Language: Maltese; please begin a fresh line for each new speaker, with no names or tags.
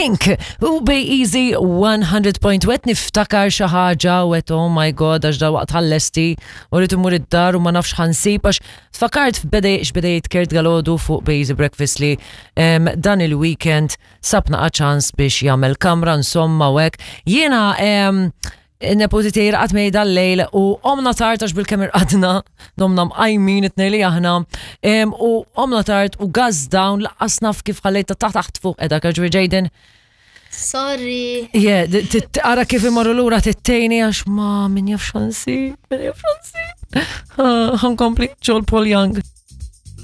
Pink u Bay Easy 100.1 niftakar xi ħaġa u għedt oh my god għax dalwaqt ħallesti u rrid immur id-dar u ma nafx ħansib għax tfakart f'beda x'beda jgħid Kurt Galodu fuq Bay Easy Breakfast li dan il-weekend sab naqa' ċans biex jagħmel kamra insomma u hekk. Jiena Nepoti tiegħi raqad miegħi dal-lejl u qomna tard għax bil-kemm irqadna, domna mqajmin it-tnejn li aħna, u qomna tard u gas down laqqas naf kif ħallejta taħt taħt fuq edha ġifieri Jaden.
Sorry.
Yeah, ara kif imorru lura tittejni għax ma min jaf xansi, min jaf xansi. Ħankompli Joel Paul Young.